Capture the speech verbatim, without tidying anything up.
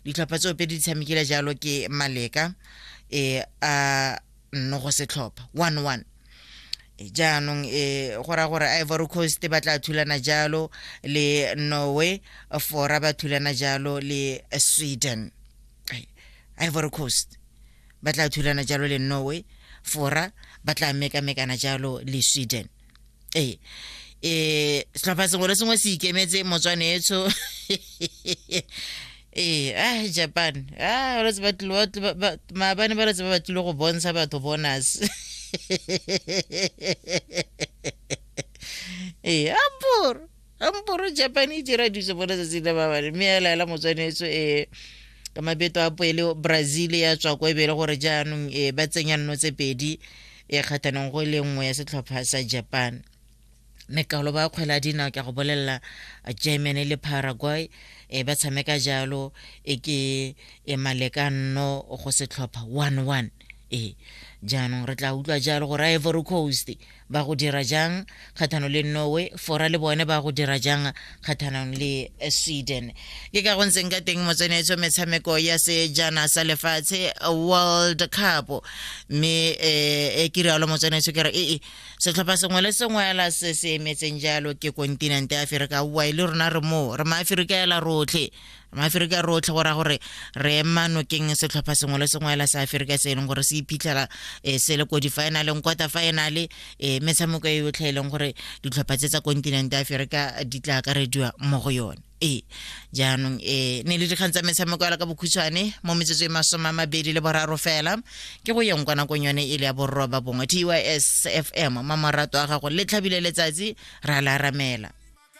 Ditlhopha tseo pedi di tshamekile jalo ke maleka e a nno go setlhopha one one. Jaanong e go raya gore Ivory Coast ba tla thulana jalo le Norway, Fora ba thulana jalo le Sweden. Ivory Coast ba tla thulana jalo le Norway, Fora ba tla mekamekana jalo le Sweden. Ee, e setlhopha sengwe le sengwe se ikemetse motswanetsho. Ee, ah Japan, ah ba tlile maabane ba letse ba batlile go bontsha batho bonus. Ee, amporo amporo Japan e dira diso mo letsatsing la maabane, mme ya laela motswanetso e ka mabeto a poele Brazil ya tswa ko e be le gore jaanong e ba tsenya nno tse pedi e kgathanong go e le nngwe ya setlhopha sa Japan. Mekalo ba kgwele ya dinao ke go bolelela Germany le Paraguay e ba tshameka jalo e ke e maleka nno go setlhopha one one. E jaanong re tla utlwa jalo gore Ivory Coast ba go dira jang kgatlhanong le Norway, Fora le bone ba go dira jang kgatlhanong le Sweden. Ke ka go ntseng ka teng motswanetso metshameko ya sejana sa lefatshe World Cup, mme e ke rialo motswanetso ke re ee setlhopha sengwe le sengwe ela se se emetseng jalo ke kontinente ya Aforika. Oa le rona re moo, re maAforika ela rotlhe, maAforika rotlhe, go raya gore re ema nokeng setlhopha sengwe le sengwe ela sa Aforika se e leng gore se iphitlhela se le ko di-finaleng, quarter final, e metshameko e yotlhe e leng gore ditlhopha tse tsa kontinente ya Aforika di tla akarediwa mo go yone. Ee, jaanong e ne le dikgang tsa metshameko ela ka bokhutshwane mo metsotso e masome a mabedi le boraro fela ke go yeng kwa nakong yone e le ya borroba bongwe. T Y S F M, mamorato a gago le tlhabile letsatsi ra la ramela.